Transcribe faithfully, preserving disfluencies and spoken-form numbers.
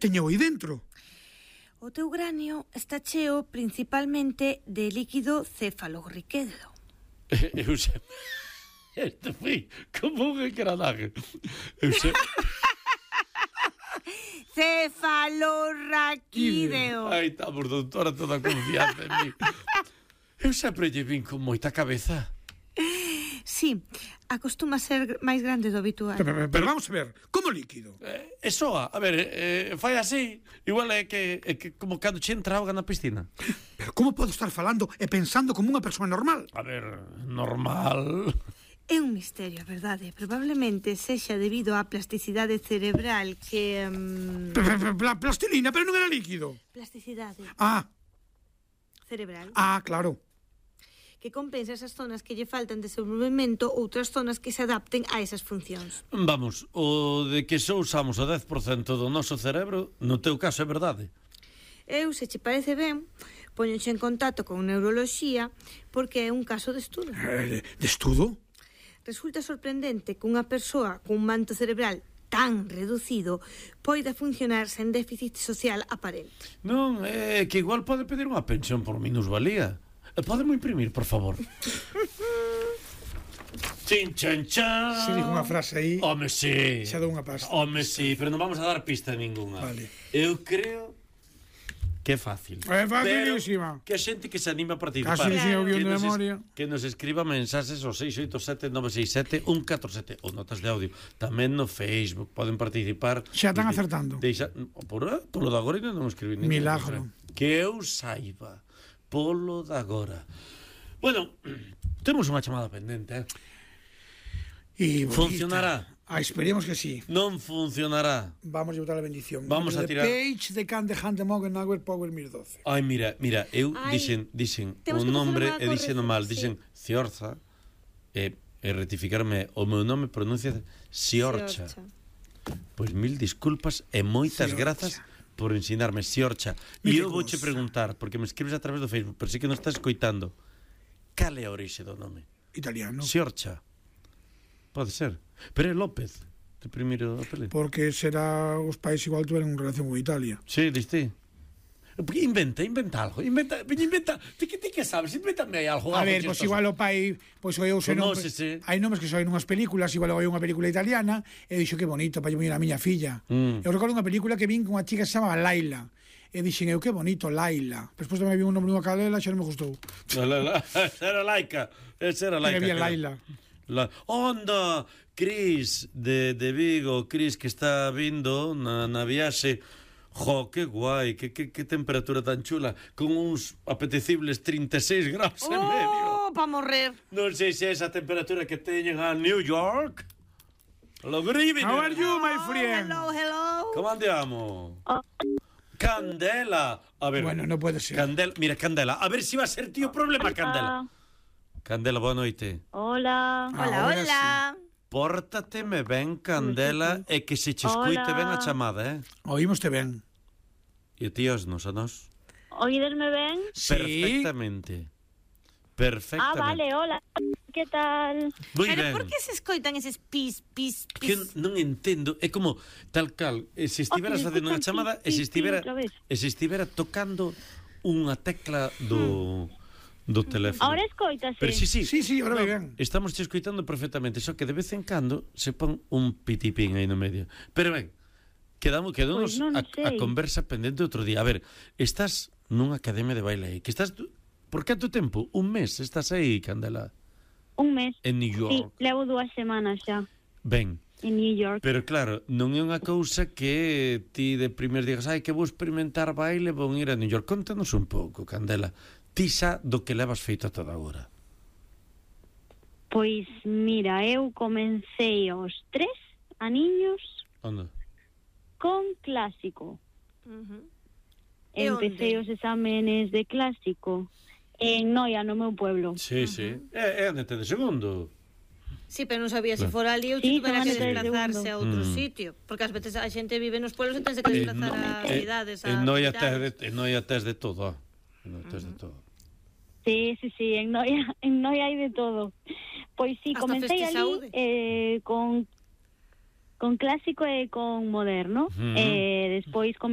teño aí dentro? O teu granio está cheo principalmente de líquido cefalorraquídeo. Eu sei... Este foi como un engranaje. Eu sei... Cefalorraquídeo. Ai, estamos, doutora, toda a confianza en mí. Eu sempre lle vin con moita cabeza. Sí, acostuma ser máis grande do habitual. Pero, pero, pero vamos a ver, como líquido? Eh, e soa, a ver, eh, fai así. Igual é que, é que como cando che entra auga na piscina. Pero como podo estar falando e pensando como unha persoa normal? A ver, normal... É un misterio, a verdade. Probablemente sexa debido á plasticidade cerebral que... Um... Pla plastilina, pero non era líquido. Plasticidade Ah, cerebral. ah, claro. Que compensa esas zonas que lle faltan desenvolvemento, outras zonas que se adapten a esas funcións. Vamos, o de que só usamos o dez por cento do noso cerebro, no teu caso é verdade. Eu, se che parece ben, poñoche en contacto con neuroloxía porque é un caso de estudo. Eh, de estudo? Resulta sorprendente que unha persoa cun manto cerebral tan reducido poida funcionar sen déficit social aparente. Non, é que igual pode pedir unha pensión por minusvalía. Podemos imprimir, por favor? Chin, chan, chan. Se digo unha frase aí... Home, sí. Xa dou unha pasta. Home, sí, pero non vamos a dar pista ninguna. Vale. Eu creo... que é fácil. É facilísima. Pero que a xente que se anima a participar. Casi claro. Que, de nos memoria. Es, que nos escriba mensaxes ao seis oito sete nove seis sete un catro sete ou notas de audio. Tamén no Facebook poden participar. Xa están acertando. Deixa, por, polo de agora non escribí ningún. Milagro. Que eu saiba. Polo de agora. Bueno, temos unha chamada pendente, eh? E funcionará. Ah, esperemos que sí. Non funcionará. Vamos a botar a bendición. Vamos a tirar. Page de Can de Hand de Mogen Power Power mil doce. Ai, mira, mira, eu Ai, dixen, dixen temos o que nombre facer e unha dixen o mal, corrección, dixen Ciorza e, e rectificarme o meu nome pronuncia Siorcha. Pois mil disculpas e moitas Siorcha. grazas por ensinarme Siorcha. E eu vouche preguntar, porque me escribes a través do Facebook, pero sí que non estás escoitando. Cal é a orixe do nome? Italiano. Siorcha. Pode ser. Pero é López, de primeiro apelido. Porque será os pais igual tuveron relación con Italia. Sí, diste. Inventa, inventa algo. Inventa, inventa. Ti que ti que sabes, invéntame aí algo. A ver, pois pues igual o pai, pois pues, eu sei Conócese. nombres, hai nomes que soen unhas películas, igual hai unha película italiana, e dixo que bonito para lle poñer a miña filla. Mm. Eu recordo unha película que vin con unha chica que se chamaba Laila. E dixen eu, que bonito, Laila. Despois tamén vi un nome dunha cadela, xa non me gustou. La, la, la. Era Laica. Esa era Laica. Que había Laila. La... Onda, Cris de, de Vigo, Cris que está vindo na, na viaxe. Jo, que guai, que, que, que temperatura tan chula, con uns apetecibles trinta e seis graus oh, en medio. Oh, pa morrer. Non sei se é esa temperatura que teñen a New York. Hello, good evening. How are you, my friend? Hello, hello. ¿Cómo andiamo? Oh. Candela. A ver. Bueno, non pode ser. Candela, mira, Candela, a ver se si va a ser tío problema, Candela. Candela, boa noite. Hola. Hola, hola. Pórtateme ben, Candela, e que se che escoite ben a chamada, eh? Oímoste ben. E tíos nos a nos? Oídesme ben? Sí. Perfectamente. Perfectamente. Ah, vale, hola. Que tal? Muy Pero ben. por que se escoitan eses pis, pis, pis? Que non entendo, é como tal cal, e se estiveras Oh, facendo unha pis, chamada, e pis, se estivera, pis, outra vez. e se estivera tocando unha tecla do do teléfono. Ahora escoitase. Pero sí, sí. Sí, sí, ahora vai ben. Estamos te escoitando perfectamente, só que de vez en cando se pon un pitipín aí no medio. Pero ben, quedamos quedamos Pois non a, a sei. conversa pendente outro día. A ver, estás nunha academia de baile aí, que estás por canto tempo? Un mes estás aí, Candela? Un mes. En New Sí, York. levo dúas semanas xa. Ben. En New York. Pero claro, non é unha cousa que ti de primeiro digas, ai, que vou experimentar baile, vou ir a New York. Contanos un pouco, Candela. Ti xa do que levas feito toda agora. Pois mira, eu comecei aos tres aniños Onde? con clásico. Uh-huh. E Empecé onde? os exámenes de clásico en Noia, no meu pueblo. Sí, uh-huh. sí. É, é onde te de segundo. Sí, pero non sabía se fora ali ou Sí, se tuvera que solamente de desplazarse a outro Mm. sitio. Porque ás veces a xente vive nos pueblos e tense que desplazar a cidades, a En Noia tes hospitales. de, en Noia tes de todo. En Noia tes de todo. Sí, sí, sí, en Noia, en Noia hai de todo. Pois sí, Hasta comecei Festi ali Saúde. eh, con con clásico e con moderno. Ujú. Eh, despois